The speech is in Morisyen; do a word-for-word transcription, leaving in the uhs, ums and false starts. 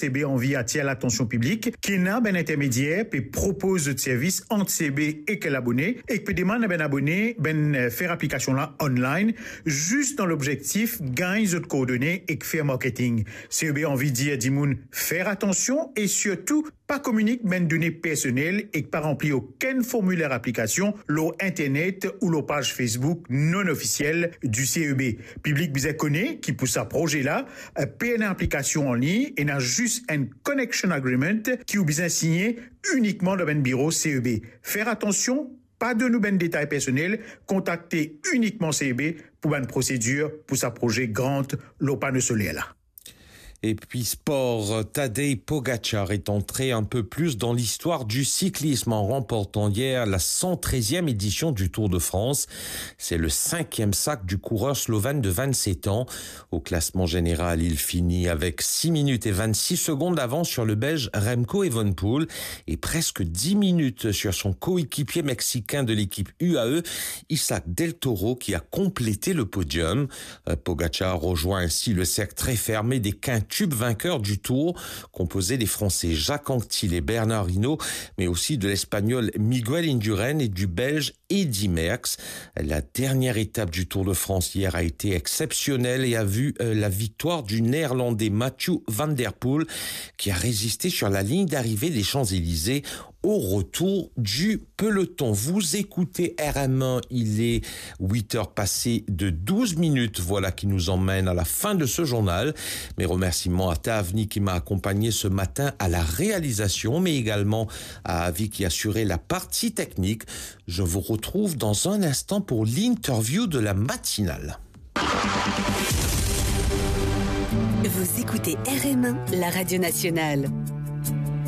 CEB anvi atir latansion piblik ki ena bann intermedier pe propoz zot servis ant CEB ek labone, ek pe demann a bann abone bann, eh, fer aplikasion la online, zis dan lobzektif gagn zot koordone ek fer marketing. CEB anvi dir dimoun fer atansion e sirtou pa kominik bann done personel ek pa ranpli okenn formiler aplikasion lor internet ou lor paz Facebook non ofisiel di CEB. Piblik bizin kone ki pou sa proze la, eh, pe ena aplikasion anlign, ena zis enn connection agreement ki ou bizin signe inikman dan bann biro CEB. Fer atansion, pa donn ou bann detay personel, kontakte inikman CEB pou bann prosedir pou sa proze grant lor pano soler la. Et puis sport, Tadej Pogacar est entré un peu plus dans l'histoire du cyclisme en remportant hier la cent treizième édition du Tour de France. C'est le cinquième sac du coureur slovène de vingt-sept ans. Au classement général, il finit avec six minutes et vingt-six secondes d'avance sur le Belge Remco Evenepoel et presque dix minutes sur son coéquipier mexicain de l'équipe U A E, Isaac Del Toro, qui a complété le podium. Euh, Pogacar rejoint ainsi le cercle très fermé des quintuple vainqueurs du Tour, composé des Français Jacques Anquetil et Bernard Hinault, mais aussi de l'Espagnol Miguel Indurain et du Belge Eddy Merckx. La dernière étape du Tour de France hier a été exceptionnelle et a vu, euh, la victoire du Néerlandais Mathieu van der Poel, qui a résisté sur la ligne d'arrivée des Champs-Élysées au retour du peloton. Vous écoutez R M un, il est huit heures passées de douze minutes. Voilà qui nous emmène à la fin de ce journal. Mes remerciements à Tavni qui m'a accompagné ce matin à la réalisation, mais également à Avi qui assurait la partie technique. Je vous retrouve dans un instant pour l'interview de la matinale. Vous écoutez R M un, la radio nationale.